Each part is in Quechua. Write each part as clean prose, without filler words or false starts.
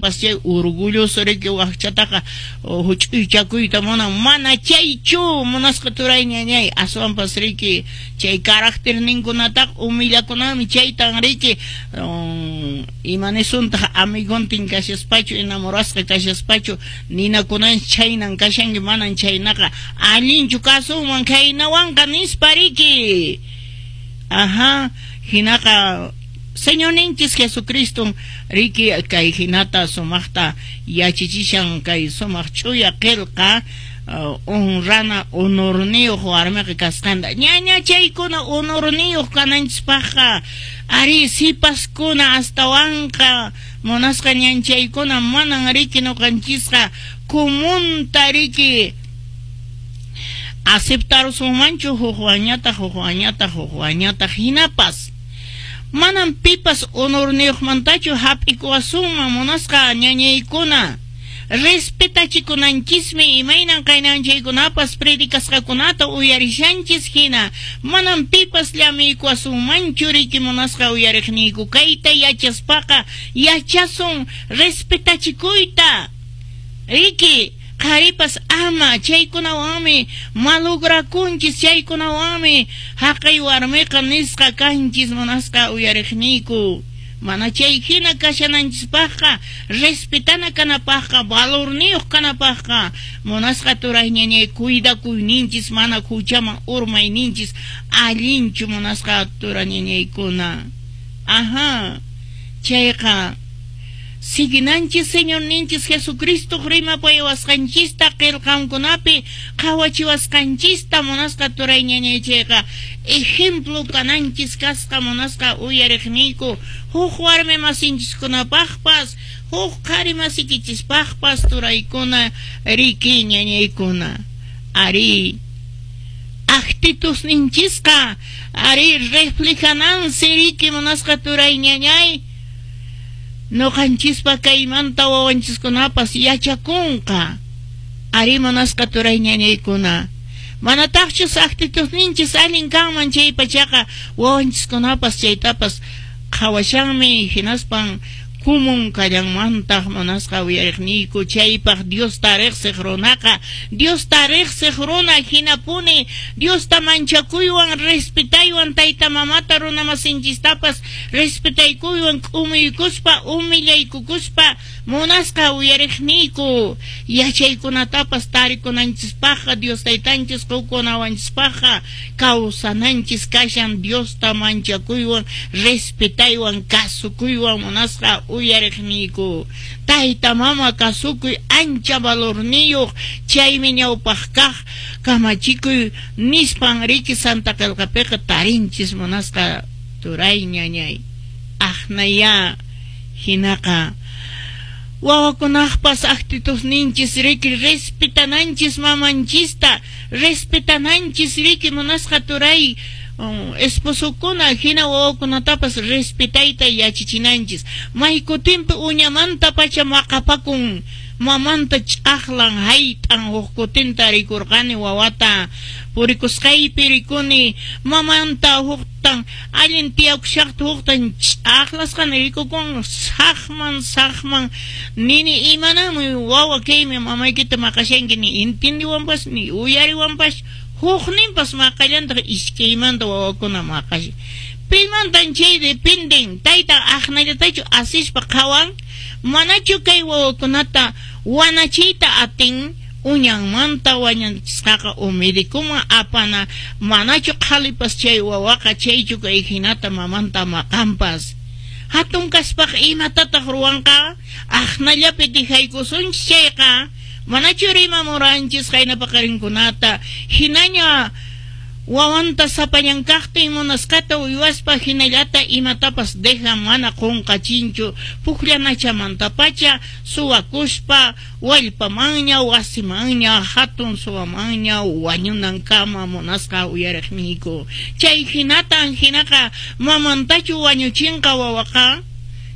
kaqtinpas chay orgulloso riki wakchataqa huch'uychakuyta munan. Mana chaychu munasqa turay ñañay, aswanpas riki chay caracterninkunataqa humillakunanmi, chaytan riki imanisuntaq amigontin kashaspachu, enamorasqa kashaspachu ninakunanchis chhaynan kashanki, manan chhaynaqa allinchu kasunman khaynawanqa nispa riki. Ajá, hinaqa Señorninchis Jesucriston riki kay hinata sumaqta yachachishan kay sumaq ch'uya qelqa honrana honorniyuq warmiqa kasqanta. Ñaña chaykuna honorniyuq kananchispaqqa ari sipaskuna astawanqa munasqa ñanchaykuna manan riki noqanchisqa comunta riki aceptarusunmanchu hukwanñataq hukwanñataq hukwanñataq hinapas. Manam pipas honorniyuqmantachu hap'ikuwasunman munasqa ñañaykuna. Respetachikunanchismi imaynan qaynanchaykunapas predicasqakunata uyarishanchis hina. Manam pipas llamiykuwasunmanchu riki munasqa uyariqniyku. Kayta yachaspaqa yachasun respetachikuyta. Riki, qharipas ama chaykunawanmi malograkunchis, chaykunawanmi haqay warmiqa nisqa kanchis munasqa uyariqniyku. Mana chay hina kashananchispaqqa, respetana kanapaqqa, valorniyuq kanapaqqa, munasqa turay ñañay cuidakuyninchis, mana huchaman urmayninchis allinchu munasqa tura ñañaykuna. Ajá, chayqa siguinanchis Señorninchis Jesucristoq rimapayawasqanchista, qelqankunapi qhawachiwasqanchista munasqa turay ñañay chayqa ejemplo kananchis kasqa munasqa uyariqniyku huk warmi masinchiskunapaqpas, huk qhari masikichispaqpas turaykuna riki ñañaykuna. Ari, actitudninchisqa ari reflejanansi riki munasqa turay ñañay noqanchispa kaymanta wawanchiskunapas yachakunqa. Ari munasqa turay ñañaykuna. Manataqchus actitudninchis allin kanman chay pachaqa wawanchiskunapas chaytapas qhawashanmi hinaspan kumun kallanmantaq munasqa uyariqniyku chaypaq Diosta riqsiq runaqa Diosta riqsiq runa hinapuni Diosta manchakuywan respetaywan tayta mamata runamasinchistapas respetaykuywan k'umuykuspa humillaykukuspa munasqa uyariqniyku yachaykunatapas tarikunanchispaqqa Dios taytanchis qukunawanchispaqqa kawsananchis kashan Diosta manchakuywan respetaywan kasukuywan munasqa uyariqniyku. Tayta mama kasukuy ancha valorniyuq chaymi ñawpaq kaq kamachikuy nispan riki Santa Qelqapiqa tarinchis munasqa turay ñañay. Aqnaya hinaqa wawakunaqpas actitudninchis riki respetananchis mamanchista, respetananchis riki munasqa turay esposokuna hina wawakunatapas respetayta yachachinanchis. Maykutinpi uñamanta pacha maqapakun mamanta ch'aqlan hayt'an huk kutinta rikurqani wawata purikusqaypi rikuni mamanta huktan allin tiyakushaqta huktan ch'aqlasqani rikukun saqman saqman nini imananmi wawa kaymi mamaykita maqashanki ni entendiwanpas ni uyariwanpas hukninpas maqallantaq iskaymanta wawakuna maqashan. Pimantan chay dependen tayta aqnallatachu asispa qhawan manachu kay wawakunata wanachiyta atin uñanmanta wañanchisqaqa umidikuman apana manachu qhalipas chay wawaqa chaychu kay hinata mamanta maqanpas. Hatun kaspaqa imatataq ruwanqa aqnallapi dejaykusunchis chayqa manachu rimamuranchis qayna paqarinkunata hinaña wawanta sapallan kaqtin munasqata uywaspa hinallata imatapas dejan mana qunqachinchu pukllanachamanta-pacha suwakuspa wallpamanña wasimanña hatun suwamanña wañunankama munasqa uyariqniyku. Chay hinatan hinaqa mamantachu wañuchinqa wawaqa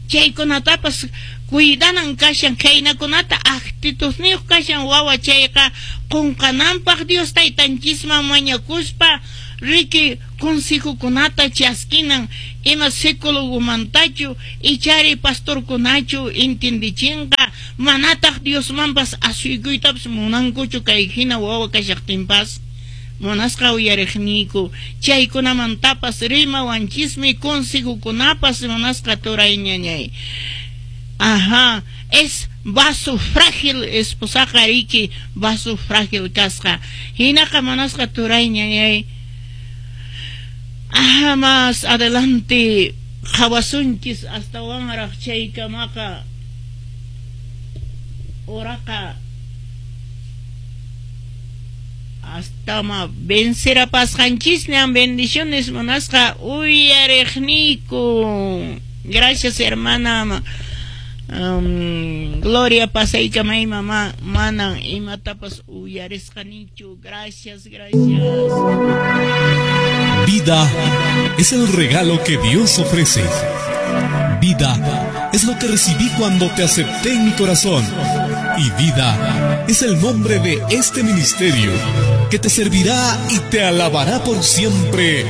chaykunatapas cuidanan kashan khaynakunata actitudniyuq kashan wawa chayqa qunqananpaq Dios taytanchisman mañakuspa riki consejokunata chaskinan ima psicólogomantachu ichari pastorkunachu entendichinqa. Manataq Diosmanpas asuykuytapas munankuchu kay hina wawa kashaqtinpas. Munasqa uyariqniyku, chaykunamantapas rimawanchismi consejokunapas, munasqa turay ñañay. Ajá, es vaso frágil esposaqa riki, vaso frágil kasqa. Hinaqa munasqa turay ñañay. Ajá, más adelante qhawasunchis astawanraq chaykamaqa uraqa hasta vencerapasqanchisñan. Bendiciones, munasqa uyariqniyku. Gracias, hermana Gloria. Pasaykamay, mamá, manan imatapas uyarisqanichu. Gracias, gracias. Vida es el regalo que Dios ofrece. Vida es lo que recibí cuando te acepté en mi corazón. Y vida es el nombre de este ministerio que te servirá y te alabará por siempre.